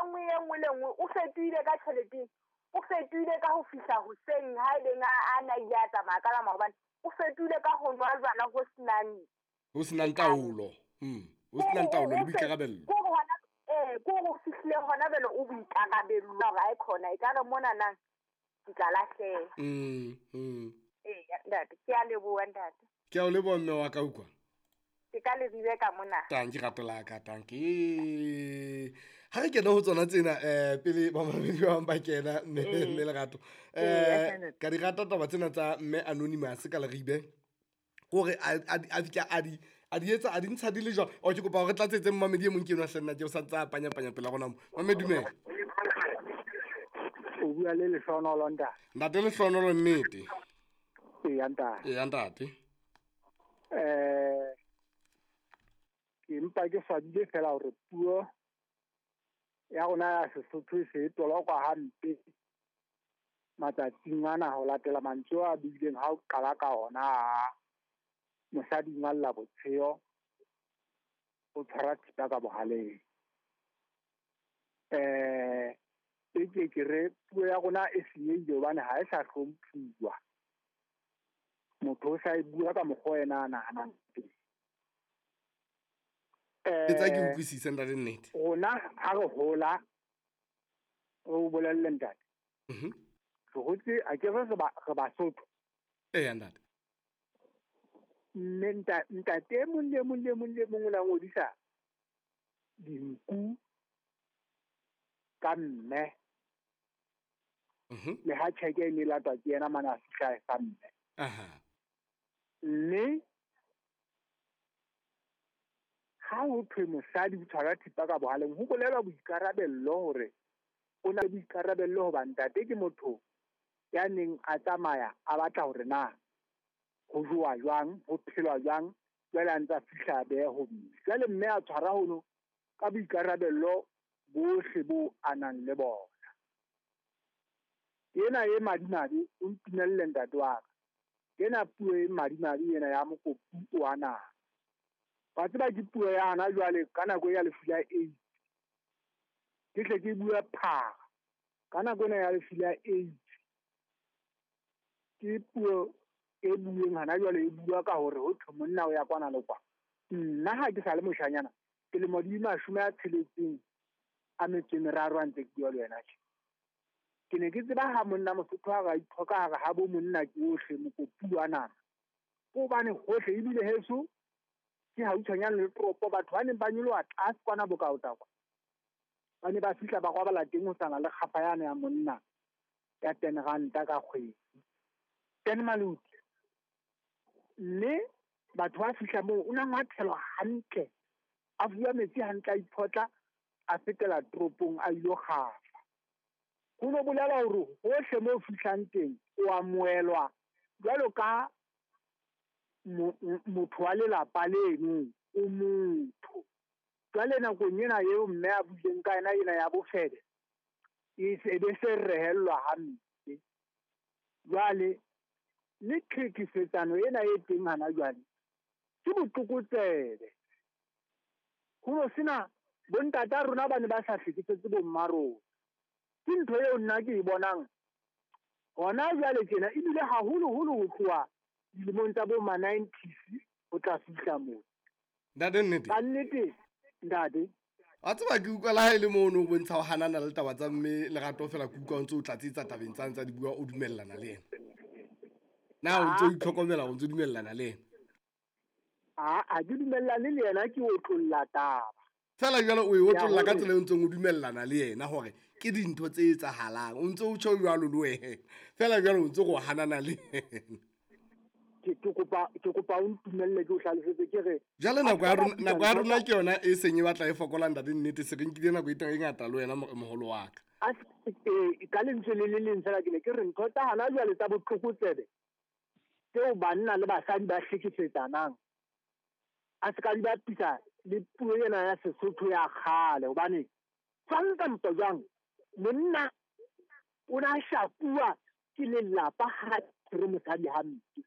nngwe e nngwe le nngwe o fetohile ka tjhelete, o fetohile ka ho fihla hoseng ha e leng a na ile a tsamaya ka la maobane, o fetohile ka ho nwa jwala ho senang ho senang taolo. Ho senang taolo le boikarabello. Ke hore hona ke hore o fihlile hona jwale o boikarabello hore ha e khona ekare mona nang ke tla lahleha. Ee, ntate, ke a leboha ntate. Ke a o leboha mme wa ka utlwa. Ke ka leribe ka mona. Tanki rato la ka, tanki. Ha re kena ho tsona tsena pele ba mamedi ba bang ba kena mme mme Lerato. Ka di rata taba tsena tsa mme Anonymous ka Leribe. Kore a fihla a di etsa a di ntsha di le jwang. O ke kopa hore re tlatsetse mmamedi e mong ke enwa hle nna ke o sa ntsa a panya-panya pela rona mo. Mamedi dumela. O bua le Lehlohonolo ntate. Ntate Lehlohonolo nnete. Eya ntate. Eya ntate. Ke mpa ke swabile fela hore puo ya rona ya Sesotho e se e tolokwa hampe matsatsing ana ho latela mantswe a buileng ha o qala ka ona mosadi o ngalla botsheo o tshwara thipa ka bohaleng. E ke ke re puo ya rona e senyehile hobane ha e sa hlomphuwa. Motho o sa e bua ka mokgwa ena a nahanang teng. Etsa ke utlwisise ntate nnete. Rona ha re hola, re o bolelle ntate. Re hotse, a ke re re Basotho. Eya ntate. Mme ntate e mong le mong le mong le mong o la ngodisa dinku ka mme. Le ha tjheke e ne latwa ke yena mane a fihla e fa mme. Mme ha ho thwe mosadi o tshwara thipa ka bohaleng, ho bolelwa boikarabello hore o na le boikarabello hoba ntate ke motho ya neng a tsamaya a batla hore na ho jowa jwang, ho phelwa jwang, jwale a ntse a fihla a behe ho mme. Jwale mme a tshwara hono ka boikarabello bohle bo a nang le bona. Ena e madimabe, o ntumelle ntate wa ka. Ena puo e madimabe ena ya mokopu wa naha. Wa tseba ke puo ya hana jwale ka nako ya lefu la AIDS. Ke tle ke bua phara. Ka nako ena ya lefu la AIDS. Ke puo e bueng hana jwale e bua ka hore ho thwe monna o ya kwana le kwa. Nna ha ke sa le moshanyana, ke lemo di 60 a metso e meraro a ntse ke bua le wena tje. Ke ne ke tseba ha monna Mosotho ha ba ithoka hare ha bo monna ke ohle mokopu wa nama. Ke hobane hohle ebile heso ke hautshwanyane le toropo, batho ba neng ba nyoloha tlase kwana Bokaota kwa. Ba ne ba fihla ba robala teng ho sana le kgafa yane ya monna ya 10 ranta ka kgwedi. 10 maluti. Mme batho ba fihla moo o na ngwathelwa hantle. A fuwa metsi hantle, a iphotla, a fetela toropong a ilo kgafa. Ho no bolela hore hohle moo fihlang teng o amohelwa jwalo ka motho wa lelapa leno, o motho. Jwale nakong ena eo mme a buileng ka yena ena ya bofebe, e se be se rehellwa hampe. Jwale le tlhekefetsano ena e teng hana jwale ke botlokotsebe. Ho no sena bontata rona ba ne ba sa hlekefetse bo mma rona. Ke ntho eo nna ke e bonang hona jwale tjena, ebile haholoholo ho tloha dilemong tsa bo ma 90s ho tla fihla moo. Ntate nnete. Ka nnete, ntate. Wa tseba ke utlwa le ha e le moo o no bontsha ho hanana le taba tsa mme Lerato fela ke utlwa o ntse o tlatsetsa tabeng tsa ntsa di bua o dumellana le yena. Na o ntse o itlhokomela o ntse o dumellana le yena? A ke dumellane le yena, ke otlolla taba. Fela jwale o e otlolla ka tsela e o ntseng o dumellana le yena hore ke dintho tse etsahalang. O ntse o tjho jwalo le wena. Fela jwale o ntse go hanana le yena. Ke kopa o ntumelle ke o hlalosetse ke re jwale nako ya rona ke yona e seng e batla e fokola ntate nnete, se re nkile nako e teng e ngata le wena moholo wa ka. Ka lentswe le le leng fela ke ne ke re ntho tsa hana jwale tsa botlokotsebe tseo banna le basadi ba hlekefetsanang a se ka di bapisa le puo ena ya Sesotho ya kgale, hobane jwang kampo jwang monna o na shapuwa ke lelapa ha re mosadi hampe.